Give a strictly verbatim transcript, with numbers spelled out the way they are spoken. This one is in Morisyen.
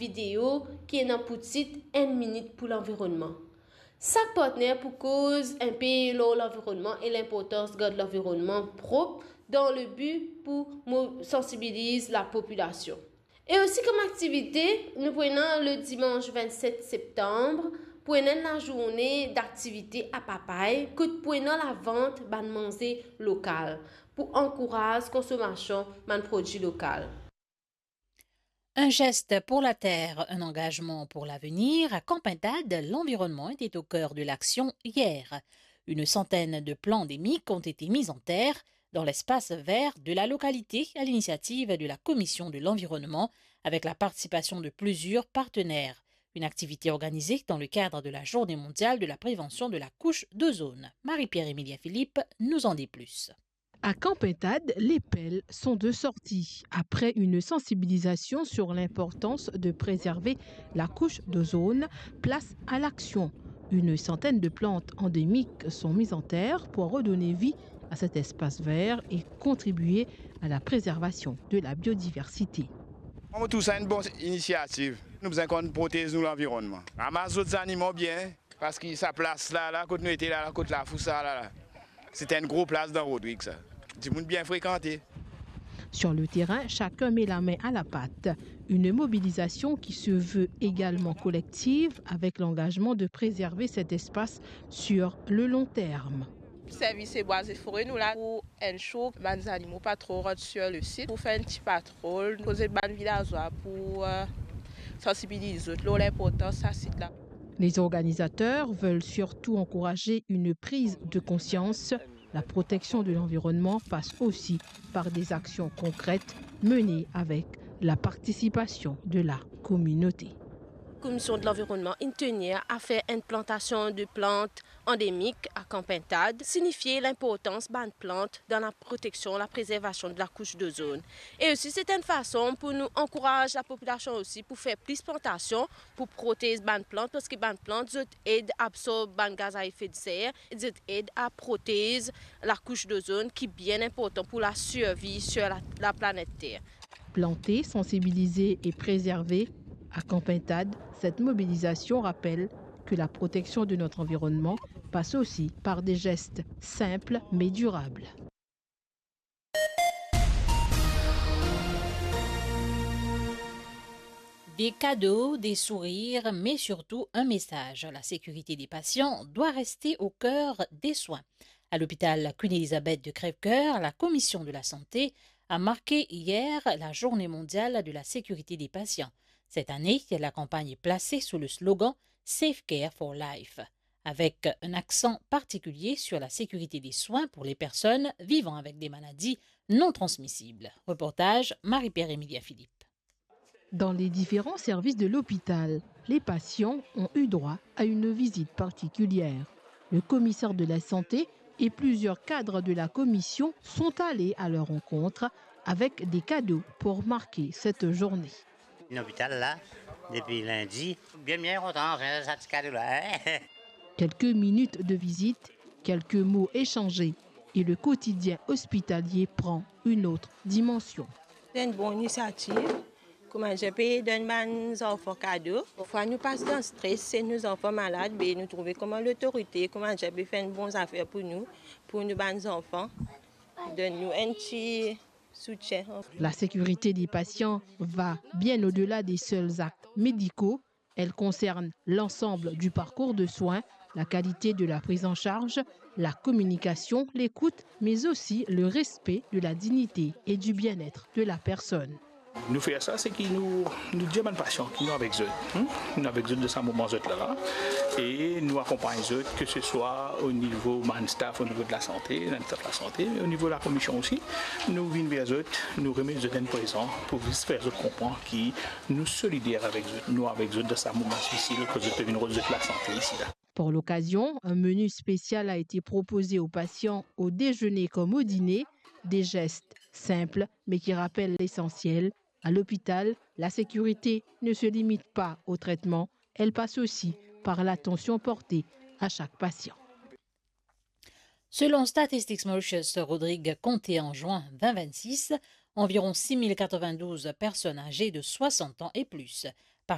Video ki ena pou tit Enn minit pou lanvironnman. Sak partner pou koz enpe lor lanvironnman e linportans gard lanvironnman prop dan le bi pou mo-, sansibiliz lapopilasion. E osi kom aktivite, nou pou ena le dimans vennset septanm, pou ena enn lazourne daktivite a Papay, kot pou ena lavant bann manze lokal, pou ankouraz konsomasion bann prodwi lokal. Un geste pour la terre, un engagement pour l'avenir. À Campentade, l'environnement était au cœur de l'action hier. Une centaine de plants endémiques ont été mis en terre dans l'espace vert de la localité à l'initiative de la Commission de l'environnement avec la participation de plusieurs partenaires. Une activité organisée dans le cadre de la Journée mondiale de la prévention de la couche d'ozone. Marie-Pierre Emilien Philippe nous en dit plus. À Campentade, les pelles sont de sortie. Après une sensibilisation sur l'importance de préserver la couche d'ozone, place à l'action. Une centaine de plantes endémiques sont mises en terre pour redonner vie à cet espace vert et contribuer à la préservation de la biodiversité. Mo trouv sa enn bon inisiativ. Nou bizin konn protez nou lanvironnman. Ramas zot zanimo bien, parski sa plas la, la kot nou ete la, la kot lafou sa la, la. Se enn gro plas dan Rodrig sa. Dimoun bien frekante. Sur le terrain, chacun met la main à la pâte. Une mobilisation qui se veut également collective avec l'engagement de préserver cet espace sur le long terme. Servi se bwa e fore nou la pou enn sou bann zanimo pa tro rant sur le sit, pou fer enn ti patrol, koze bann vilazwa pou, euh, sansibiliz zot lor linportans sa sit la. Les organisateurs veulent surtout encourager une prise de conscience. La protection de l'environnement passe aussi par des actions concrètes menées avec la participation de la communauté. Komision de lanvironnman inn tenir a fer enn plantasion de plant andemik a Kan Pintad, sinifie linportans bann plant dan laproteksion, laprezervasion de lakous dozonn. E osi, se enn fason pou nou ankouraz lapopilasion osi pou fer plis plantasion, pou protez bann plant, parski bann plant, zot ed absorb bann gaz a efe de ser, zot ed a protez lakous dozonn ki bien inportan pou lasirvi sur la, laplanet Ter. Planter, sensibiliser et préserver. À Kan Pintad, cette mobilisation rappelle que la protection de notre environnement passe aussi par des gestes simples mais durables. Des cadeaux, des sourires, mais surtout un message. La sécurité des patients doit rester au cœur des soins. À l'hôpital Queen Elizabeth de Crèvecoeur, la commission de la santé a marqué hier la journée mondiale de la sécurité des patients. Cette année, la campagne est placée sous le slogan Safe Care for Life, avec un accent particulier sur la sécurité des soins pour les personnes vivant avec des maladies non transmissibles. Reportage Marie-Pierre Emilia Philippe. Dans les différents services de l'hôpital, les patients ont eu droit à une visite particulière. Le commissaire de la santé et plusieurs cadres de la commission sont allés à leur rencontre avec des cadeaux pour marquer cette journée. Lopital la, depi lindi, bien, bien kontan, sa ti kado la, hein. Quelques minutes de visite, quelques mots échangés et le quotidien hospitalier prend une autre dimension. Se enn bon inisiativ. Kouma dir pe donn bann zanfan kado. Parfwa nou pas dan stres, si nou zanfan malad, be nou trouve kouma lotorite, kouma dir pe fer enn bon zafer pou nou, pou nou bann zanfan, donn nou enn ti soutien. La sécurité des patients va bien au-delà des seuls actes médicaux. Elle concerne l'ensemble du parcours de soins, la qualité de la prise en charge, la communication, l'écoute, mais aussi le respect de la dignité et du bien-être de la personne. Nou fer sa, se ki nou, nou dir bann pasian ki nou avek zot, hmm? Nou avek zot dan sa moman zot la la, e nou akonpagn zot, ke se swa o nivo bann staff, o nivo de lasante, bann staff lasante, o nivo lakomision osi. Nou vinn ver zot, nou remet zot enn prezan pou zis fer zot konpran ki nou solider avek zot, nou avek zot dan sa moman difisil, kot zot pe vinn rod zot lasante isi la. Pour l'occasion, un menu spécial a été proposé aux patients au déjeuner comme au dîner. Des gestes simples, mais qui rappellent l'essentiel. À l'hôpital, la sécurité ne se limite pas au traitement, elle passe aussi par l'attention portée à chaque patient. Selon Statistics Mauritius, Rodrig konte an zin vingt vingt-six environ six mille quatre-vingt-douze personnes âgées de soixante ans et plus.